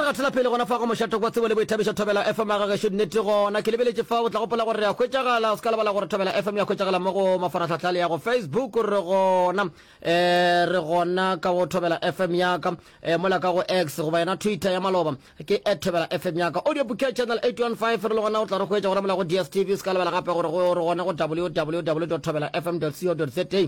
gatela pele gona fa go mošato kwa tsebo le boithabišo Thobela FM ya gagešo nnete gona ke lebeletše fa o tla gopola gore re a hwetšagala o se ka lebala gore Thobela FM ya hwetšagala mo go mafarahlahla le ya go Facebook re gona um re gona ka go Thobela FM ya ka um mola ka go X goba yona Twitter ya maloba ke at Thobela FM ya ka audio bouquet channel 815 re le gona o tla re hwetša gona mola go DSTV o se ka lebala gape gore go re gona go www thobela fm co za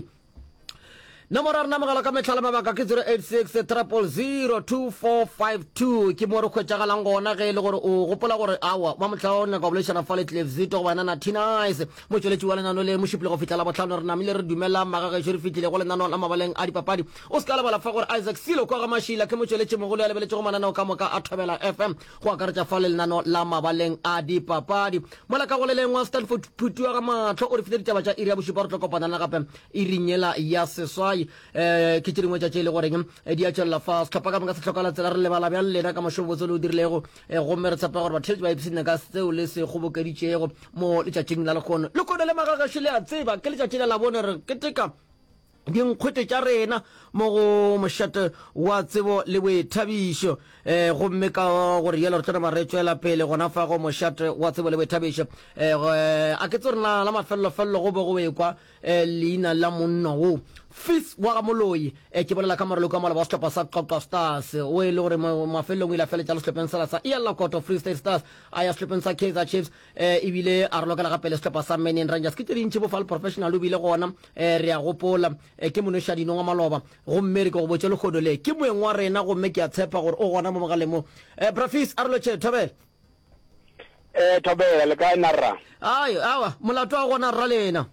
Nomoro ya rena mogala ka mehla le mabaka ke 086 000 2452. Ke mo re hwetšagalang gona ge e le gore o gopola gore awa wa mohla o nyaka go boledišana fa le Cliff Zito goba yena Natty Nice, motšweletši wa lenano le Mošupologo go fihla Labohlano. Re namile re dumela magagešo re fihlile go lenano la mabaleng a dipapadi. O se ka lebala fa gore Isaac Silo kwa ga Mašila ke motšweletši mogolo ya lebeletšego mananeo ka moka a Thobela FM go akaretša fa le lenano la mabaleng a dipapadi. Mola ka go le lengwe Stanford Phuti wa ga Mahlo o re file ditaba tša iri ya bošupa re tlo kopana le gape Iring yela ya seswai, eh, ke tše dingwe tša tše e le goreng eh, di a tšwelela fa. Sehlopha ka moka se hloka la tsela. Re lebala bjang lena ka mošomo botse le o dirilego, eh, gomme re tshepa gore batheeletši ba ipshinne ka seo le se kgobokeditšego mo letšatšing la lehono. Lehono le magagešo le a tseba, ke letšatši la Labone, re keteka dinkgwete tša rena mo go mošate wa tsebo le boithabišo. Eh, gomme ka gore yelo re tlo nama re tšwela pele gona fa go mošate wa tsebo le boithabišo. Eh, a ke tse rena la mafellofello go be go ekwa eh, leina la monna wo Fis wa ga Moloi. Eh, ke bolela ka moraloki wa maloba wa sehlopha sa Qwaqwa Stars o e le gore mafelelong o ile a feletša le sehlopheng sela sa EL Lakoto Free State Stars, a ya sehlopheng sa Kaizer Chiefs, eh, ebile a rolokela gape le sehlopha sa Manning Rangers. Ke tše dintši bofal professional o bile gona, eh, re a gopola, eh, ke monošadino wa maloba. Gomme re ke go botše lehono le ke moeng wa rena, gomme ke a tshepa gore o gona mo mogaleng mo. Eh, Bra Fis, a re lotšhe, thobela. Eh, Thobela, le kae na rra? Ai, awa, molato wa gona rra lena.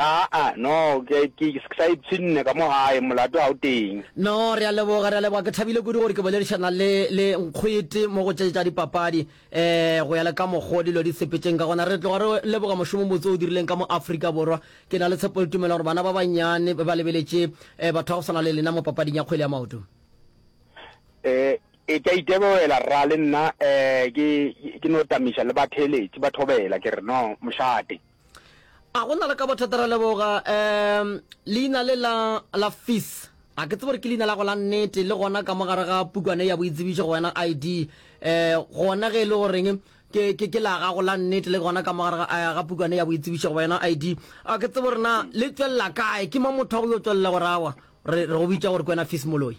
Aa, no, ke, ke, ke sa ipshinne ka mo gae, molato ga o teng. No, re a leboga, re a leboga. Ke thabile kudu gore ke boledišana le, le Nkgwete mo go tše tša dipapadi, eh, go ya le ka mokgo dilo di sepetšeng ka gona. Re tloga re leboga mošomo o mobotse o dirileng ka mo Afrika Borwa. Ke na le tshepo le tumelo gore bana ba bannyane ba lebeletše, eh, batho ba go swana le lena mo papading ya kgwele ya maoto. Eh, E ke a iteboela rra le nna eh ke ke no tamiša le batheeletši ba thobela ke re no mošate. A go na le ka bothata ra leboga um leina le la la Fis a ke tsebe gore ke leina la go la nnete le gona ka mo gare ga pukwana ya boitsebišo go wena ID eh gona ge e le goreng ke ke ke la gago la nnete le gona ka mo gare ga eh, ga pukwana ya boitsebišo go wena ID a ke tsebe gore na le tšwelela kae ke mo motho wa go yo tšwelela gore awa re re go bitša gore ke wena Fis Moloi.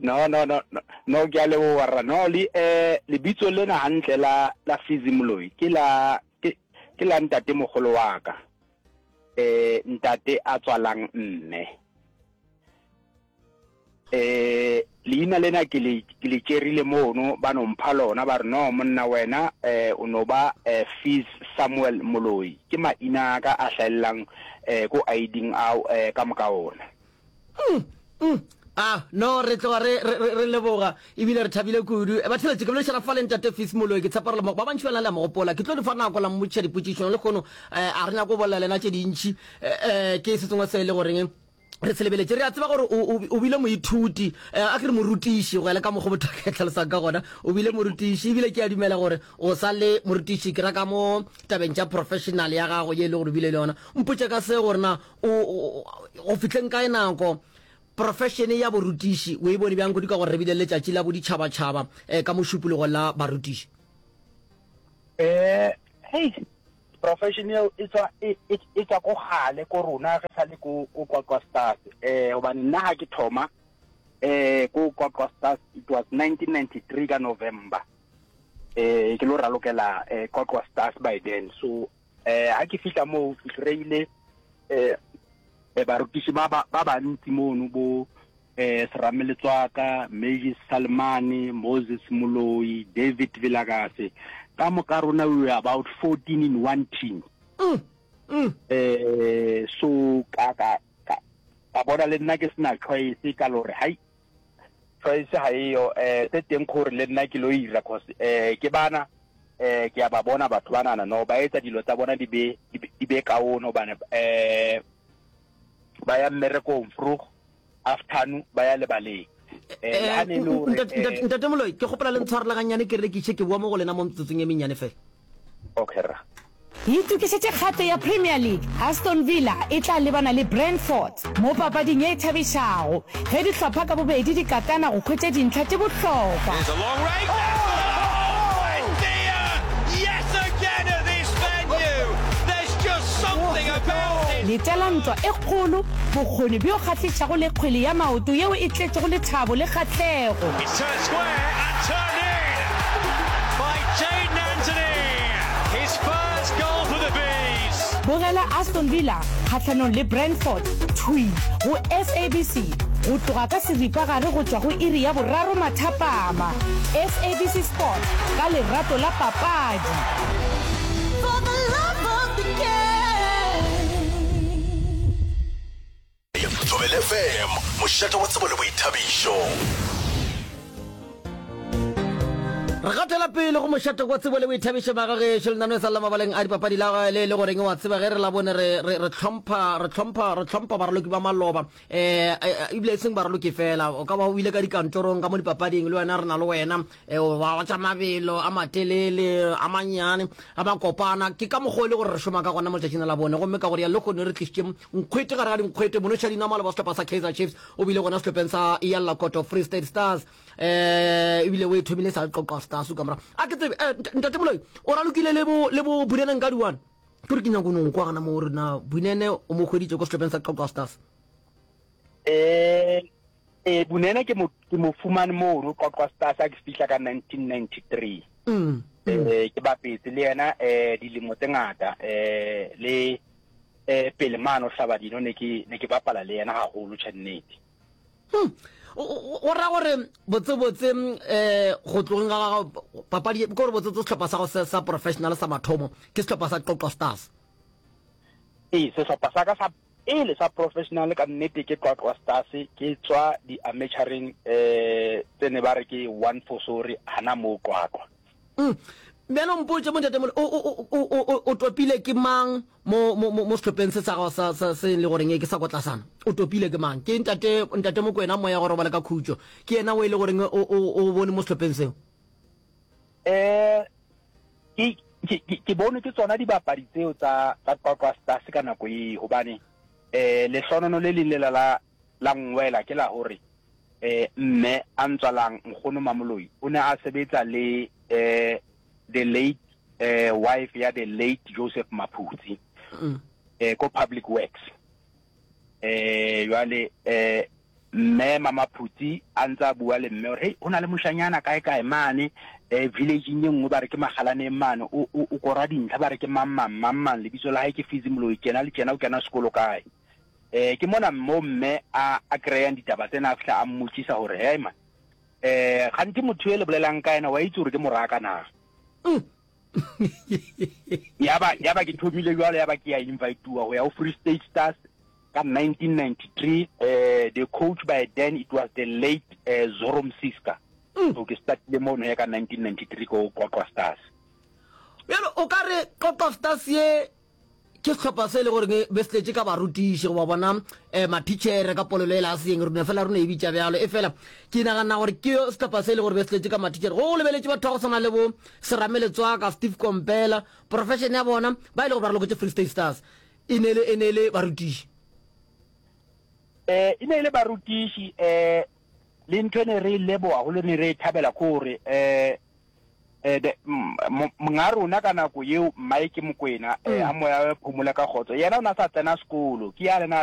No, no, no, no, no, ke a leboga rra. No, le, eh, lebitso lena hantle la, la Fizzy Moloi, ke la, ke, ke la ntate mogolo wa ka. Eh, ntate a tswalang mme. Eh, leina lena ke le, ke le tšerile mono, ba no mpha lona, ba re, no, monna wena, eh, o no ba, eh, Fizz Samuel Moloi. Ke maina a ka a hlaellang, eh, ko ID-ing ao, eh, ka moka ona. Mm, mm. Ah, no, re tloga re, re, re, re leboga ebile re thabile kudu. Batheletši, ke boledišana fa le Ntate Fis Moloi, ke tshepa gore le mo, ba bantši ba lena le a mo gopola. Ke tlo le fa nako la mmotšiša dipotšišo. Lehono eh, a re nyako go bolela lena tše dintši. Eh, eh, ke se sengwe se e le goreng re se lebeletše. Re a tseba gore o, o, o bile moithuti, eh, a ke re morutiši, go ya le ka mokgwa motho a ka e tlhalosang ka gona. O bile morutiši ebile ke a dumela gore o sa le morutiši, ke ra ka mo tabeng tša professional ya gago ye e le gore o bile le yona. Mpotše ka se gore na O, go fihleng kae nako, profeshene ya borutiši o e bone bjang kudu ka gore re bile le letšatši la boditšhabatšhaba eh, ka Mošupologo la barutiši? Eh, hei, profession eo e tswa e, e, e tswa ko gale ko rona re sa le ko ko Qwaqwa Stars. Eh, hobane nna ha ke thoma eh ko Qwaqwa Stars it was 1993 ka November. Eh ke lo ralokela eh Qwaqwa Stars by then. So Eh, ha ke fihla moo ke kry-ile eh, eh, barutiši ba ba ba bantsi mono bo eh, Serame Letswaka, Magis Salmane, Moses Moloi, David Vilakase. Ka moka rona we were about 14 in one team. Mm, mm. Eh, so ka ka ka ka bona le nna ke sena choice ka lore hai Choice ga eyo eh se teng gore le nna ke lo ira cause eh ke bana eh ke a ba bona batho banana no ba etsa dilo tsa bona di be di be kaone hobane eh ba ya mmerekong vroeg afternoon ba ya lebaleng eh le ha ne le hore eh, Ntate Moloi ke kgopela le ntshwarela gannyane ke rekiše ke boa mo go lena mo metsotsong e mennyane fela. Okay rra. Itokišetše kgato ya Premier League, Aston Villa e tla lebana le Brentford mo papading ye e thabišago ge dihlopha ka bobedi di katana go hwetša dintlha tše bohlokwa. Letela ntwa e kgolo, bokgoni bjo kgahlišago le kgwele ya maoto yeo e tletšego lethabo le kgahlego. Bogela Aston Villa kgahlanong le Brentford thwi go SABC go tloga ka seripagare go tšwa go iri ya boraro mathapama. SABC Sport, ka lerato la papadi. For the love of the game. Thobela FM, mošate wa tsebo le boithabišo. Re gatela pele go mošate wa tsebo le boithabišo magagešo lenaneo sa la mabaleng a dipapadi la le le goreng wa tseba ge re la bone re re re hlompha re hlompha re hlompha baraloki ba maloba eh ebile e seng baraloki fela o ka ba o ile ka dikantorong ka mo dipapading le wena re na le wena eh, wa tša mabelo a matelele a mannyane a makopana ke ka mokgwa e le gore re šoma ka gona mo letšatšing la bone gomme ka gore ya le kgone re tlišitše nkgwete gare ga dinkgwete monoša dinama le ba sehlopha sa Kaizer Chiefs o bile gona sehlopheng sa Yalla Koto Free State Stars eh ebile o e thomile sa Qoqwa Stars ka morago a ke tsebe eh, ntate Moloi o ralokile le bo le bo Bunene nka diwane ke gore ke nyako no kwa gana mo re na Bunene o mo hweditše ko sehlopheng sa Qoqwa Stars eh eh Bunene ke mo ke mo fumane mono Qwaqwa Stars a ke fihla ka 1993 mm, mm. eh ke bapetse le yena eh dilemo tse ngata eh le eh pele mano hlabadino ne ke ne ke bapala le yena haholo tjhe nnete hmm. go ra gore botsebotse um go tlogeng ga gago papadi ke gore botsebotse sehlopha sa go sa professional sa mathomo ke sehlopha sa Qwaqwa Stars ee sehlopha sa ka sa pele sa professional ka nnete ke Qwaqwa Stars ke tswa di-amateureng um tse ne ba re ke one for sorry hana moo Qwaqwa mm. bjalo mpotse mo ntatemole o topile ke mang mo mo mo sehlopheng se sa gago sa sa se le goreng ke sa ko tlasana o topile ke mang ke ntate ntate mokwena moya go robala ka khutšo ke yena o e le goreng o o o bone mo sehlopheng seo eh ke ke ke bone ke tsona dibapadi tseo tsa tsa Qwaqwa Stars ka nako eo hobane eh lehlonono le leng lela la la nngwela ke la hore eh mme a ntswalang nkgono Mamoloi o ne a sebetsa le eh the late eh wife ya the late Joseph Maphutsi mm. eh ko public works eh jwale eh mme mama Phutsi a ntse a bua le mme gore hey ho na le moshanyana kae kae mane eh village-ing e nngwe ba re ke magalaneng mane o o o kora dintlha ba re ke mang mang mang mang lebitso la hae ke Fizi Moloi tjena le tjena o kena sekolo kae eh ke mona mo mme a a kry-ang ditaba tsena a fihla a mmotsisa gore hey man eh gantsi motho e le bolelang ka ena wa itse gore ke moraka na mm. ya ba ya ba ke thomile jwalo ya ba ke ya invitewa go ya go Free State Stars ka 1993 eh the coach by then it was the late eh, Zoro Msiska mm. so ke startile mono ya ka 1993 ko Qwaqwa Stars bjalo o ka re Qwaqwa Stars ye Ke sehlopha se e le goreng be se tletše ka barutiši goba bona um mathitšhere ka polelo e la seeng, re no fela re no e bitša bjalo. Efela ke nagana gore ke sehlopha se e le gore be se tletše ka mathitšhere. Go lebeletše batho ba go swana le bo Serame Letswaka, Steve Kompela, profession ya bona ba e le gore ba raloketše Free State Stars e ne le e ne le barutiši. Eh, e ne e le barutiši eh le ntho e ne re e leboga haholo ne re e thabela ke gore eh eh, the, monga rona ka nako yeo Mike Mokwena eh, mm. a moya wa phomola ka kgotso yena o na sa tsena sekolo ke ya lena.